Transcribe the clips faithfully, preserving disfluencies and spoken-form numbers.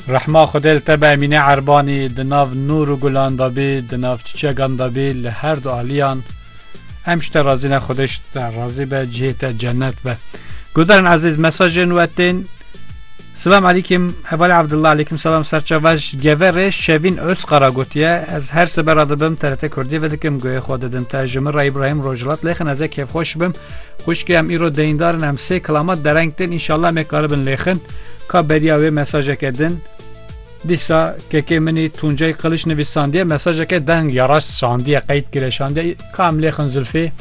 Rehma Xwedê li te be Emîne Erbanî, di nav nûr û gulan de bî, di nav çiçegan de bî, li her du aliyan. Em ji te razî ne, Xwedê ji te razî be, cihê te cennet be. Guhdarên ezîz, mesajên we tên. Selam aleykum, Hevalê Abdullah, aleykum selam, serçava ji Geverê Şevîn Özkara gotiye, ez her sibe radibim, T R T Kurdî vedikim, guhê xwe didim te, ji min re Îbrahîm Rojhilat lêxin, ez ê kêfxweş bim. Xwişkê em îro deyndar in, em sê kilamat dereng tên, înşallah em ê karibin lêxin. Ka beriya wê mesajeke din. Dîsa kekê min î Tuncay Kılıç nivîsandiye, mesajeke deng ya rast şandiye, qeyd kire şandiye. Ka em lêxin Zülfî.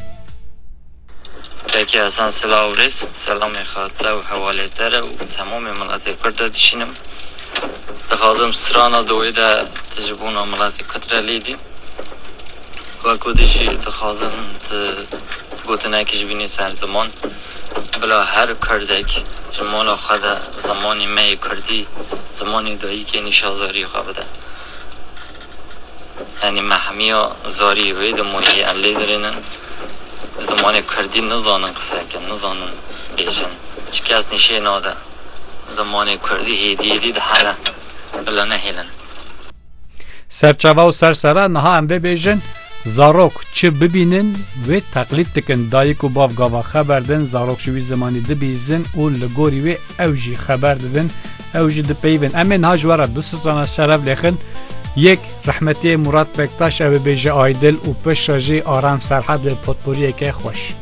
Peki Hasan, silav û rêz. Selamê xwe te û hevalê te re û temamê miletê Kurd de dişînim. Dixwazim strana dawî de tu ji bona miletê Kurd re lêdî. Wekî dî jî dixwazim tu gotinekî ji bînî ser ziman. Bila her Kurdek ji mala xwe de zimanê me yê Kurdî, zimanê dayikê nîşa zarî xwe bide. Yanî me hemiya zarî wê dimayî em lê dirênin. Zimanê Kurdî nizanin qise bikin, nizanin bêjin. Çi kes nîşê nade. Zimanê Kurdî hêdî hêdî dihele. Bila nehêlin. Serçava û sersera niha em vê bêjin, zarok çi bibînin, wê teqlîd dikin. Dayik û bav gava xeber din, zarok ji wî zimanî dibihîzin û li gorî wê ew jî xeber didin, ew jî dipeyivin. Em ê niha ji we re du strana şeref lêxin. Yek, rehmetiyê Murat Bektaş, ew ê bêje Aydil û piştre jî Aram Serhad wê potporiyeke xweş.